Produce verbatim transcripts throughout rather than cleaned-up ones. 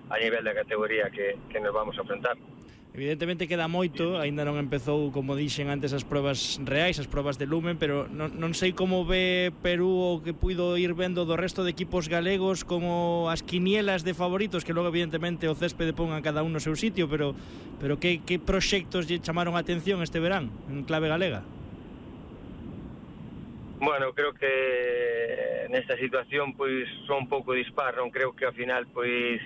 a nivel da categoría que, que nos vamos a enfrentar. Evidentemente queda moito, aínda non empezou, como dixen antes, as probas reais, as probas de lumen, pero non, non sei como ve Perú o que puido ir vendo do resto de equipos galegos, como as quinielas de favoritos, que logo evidentemente o céspede pon a cada un no seu sitio, pero pero que, que proxectos lle chamaron a atención este verán en clave galega? Bueno, creo que nesta situación pois son un pouco dispar, non creo que ao final pois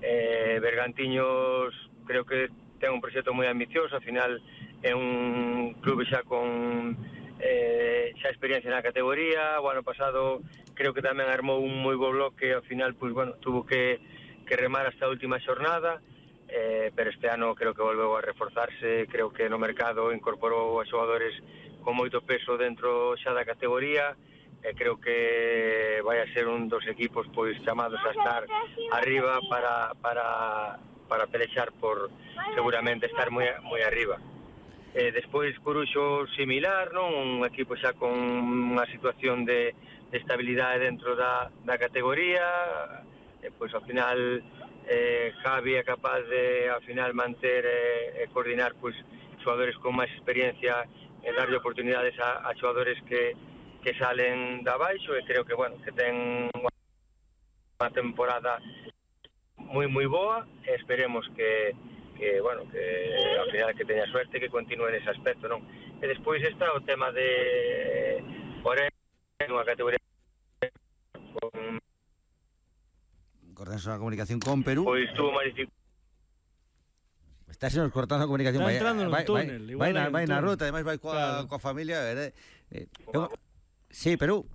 eh, Bergantiños creo que ten un proxecto moi ambicioso, ao final é un clube xa con eh, xa experiencia na categoría. O ano pasado creo que tamén armou un moi bo bloque, ao final pois bueno, tuvo que, que remar hasta a última xornada, eh, pero este ano creo que volveu a reforzarse, creo que no mercado incorporou a xogadores con moito peso dentro xa da categoría, e creo que vai a ser un dos equipos pois chamados a estar arriba para para para pelexar por seguramente estar moi moi arriba. Eh, despois Coruxo similar, non? Un equipo xa con unha situación de, de estabilidade dentro da, da categoría, e pois ao final eh, Javi é capaz de ao final manter e eh, coordinar pois xogadores con máis experiencia e darlle oportunidades a, a xogadores que, que salen da baixo, e creo que bueno, que ten unha temporada moi moi boa, e esperemos que, que bueno, que ao final que teña suerte, que continúe nese aspecto, non? E despois está o tema de Orén, unha categoría con cortando a comunicación con Perú. Pois tuvo máis dificultades. Está se nos cortando a comunicación. Está vai, entrando no vai, túnel, vai, igual vai, na, hai un vai na túnel. ruta, ademais vai coa, Claro. coa familia, eh, eh, eu, sí, Perú.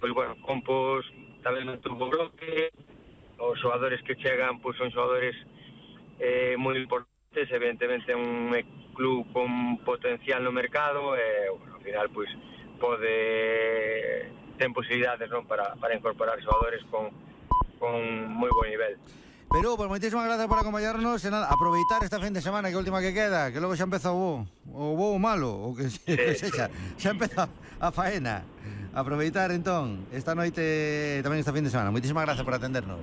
Pois bueno, Compos tamén non tuvo bloque, os xogadores que chegan pois son xogadores eh, moi importantes, evidentemente un club con potencial no mercado, e bueno, ao final pois pode ten posibilidades, non, para, para incorporar xogadores con, con moi bo nivel. Perú, pues moitísimas gracias por acompañarnos e nada, aproveitar esta fin de semana que é a última que queda, que logo xa empeza o bo, o bo malo, o que, se, que sexa, xa empeza a faena. Aproveitar entón esta noite, tamén esta fin de semana. Moitísimas gracias por atendernos.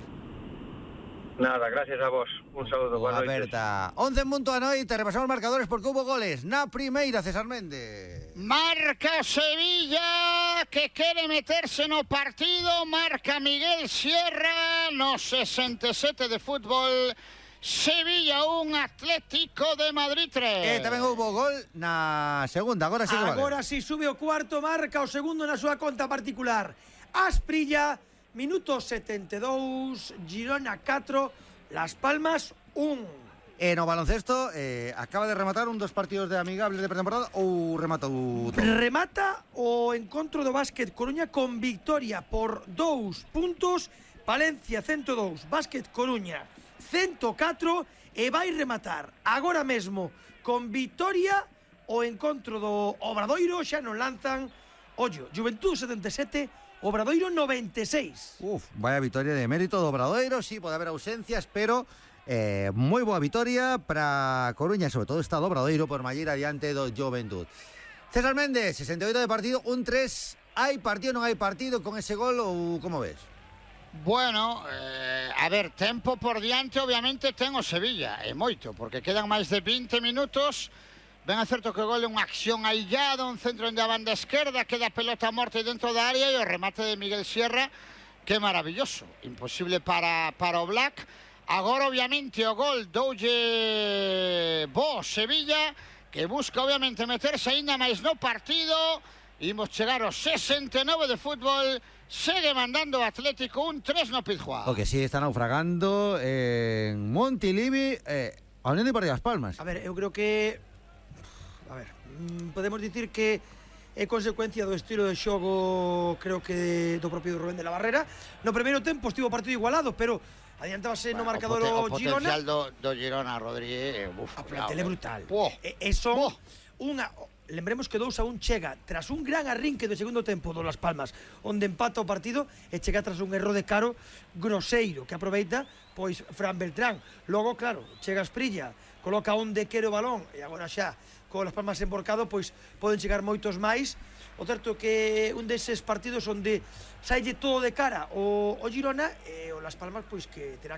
Nada, gracias a vos. Un saúdo, boa noite. Aperta. once en punto a noite, repasamos marcadores porque hubo goles. Na primeira, César Méndez. Marca Sevilla, que quere meterse no partido. Marca Miguel Sierra no sesenta e sete de fútbol. Sevilla un, Atlético de Madrid tres. E tamén houve gol na segunda. Agora sí que vale. Agora si sube o cuarto, marca o segundo na súa conta particular. Asprilla, minuto setenta e dous, Girona catro, Las Palmas un. E no baloncesto eh, acaba de rematar un dos partidos de amigables de pretemporada ou remata o todo? Remata o encontro do Básquet Coruña con victoria por dous puntos. Palencia ciento dous, Básquet Coruña ciento catro, e vai rematar agora mesmo con victoria o encontro do Obradoiro. Xa non lanzan, ollo, Juventud setenta e sete, Obradoiro noventa e seis. Uf, vaya victoria de mérito do Obradoiro. Sí, pode haber ausencias, pero eh, moi boa victoria para Coruña, sobre todo está do Obradoiro por mallir adiante do Juventud. César Méndez, sesenta e oito de partido, un tres. Hai partido, non hai partido con ese gol ou como ves? Bueno, eh, a ver, tempo por diante obviamente ten o Sevilla, e moito, porque quedan máis de vinte minutos. Ben é certo que o gol é unha acción aillada, un centro onde a banda esquerda, queda a pelota a morte dentro da área, e o remate de Miguel Sierra, que maravilloso, imposible para, para o Black. Agora obviamente o gol doulle bo Sevilla, que busca obviamente meterse aínda máis no partido. Imos chegar aos sesenta e nove de fútbol. Segue mandando o Atlético un tres no Pizjuán. O que sí está naufragando en Montilivi, eh, a Unión Deportiva Las Palmas. A ver, eu creo que, a ver, podemos dicir que é consecuencia do estilo de xogo, creo que do propio Rubén de la Barrera. No primeiro tempo estivo o partido igualado, pero adiantábase bueno, no marcador o, o Girona. O potencial do, do Girona, Rodríguez, uf, a plantel é brutal. Oh. E, e son oh. unha... Lembremos que dous a un chega tras un gran arrinque do segundo tempo do Las Palmas, onde empata o partido, e chega tras un erro de Caro groseiro, que aproveita pois Fran Beltrán. Logo, claro, chega Asprilla, coloca onde quere o balón, e agora xa con Las Palmas emborcado, pois poden chegar moitos máis. O certo que un deses partidos onde saille todo de cara o, o Girona, e o Las Palmas pois que terá